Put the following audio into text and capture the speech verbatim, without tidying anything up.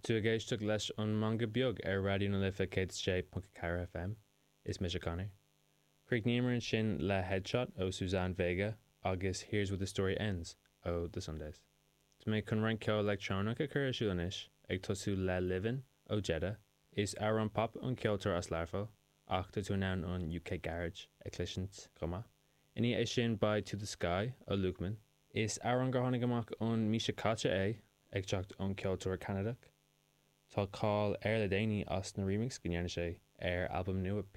Tá tú ag éisteacht leis an Meangadh Beag ar Raidió na Life céad sé ponc ceathair FM. Is mise Conor. Chríochnaíomar ansin le Headshot ó Suzanne Vega agus Here's Where the Story Ends ó The Sundays. Tá mé chun roinnt ceol leictreonach a chur ar siúl anois ag tosú le Livin ó Jeda. Is amhrán pop an ceoltóir as Learpholl ach tá tú in ann an UK Garage a chloisint chomh maith. Ina dhiaidh sin beidh To the Sky ó Lukeman. Is amhrán gur tháinig amach an mhí seo caite é ag teacht ón ceoltóir Ceanadach. Tá cáil air le déanaí as na remix go ndearna sé ar albam nua Pink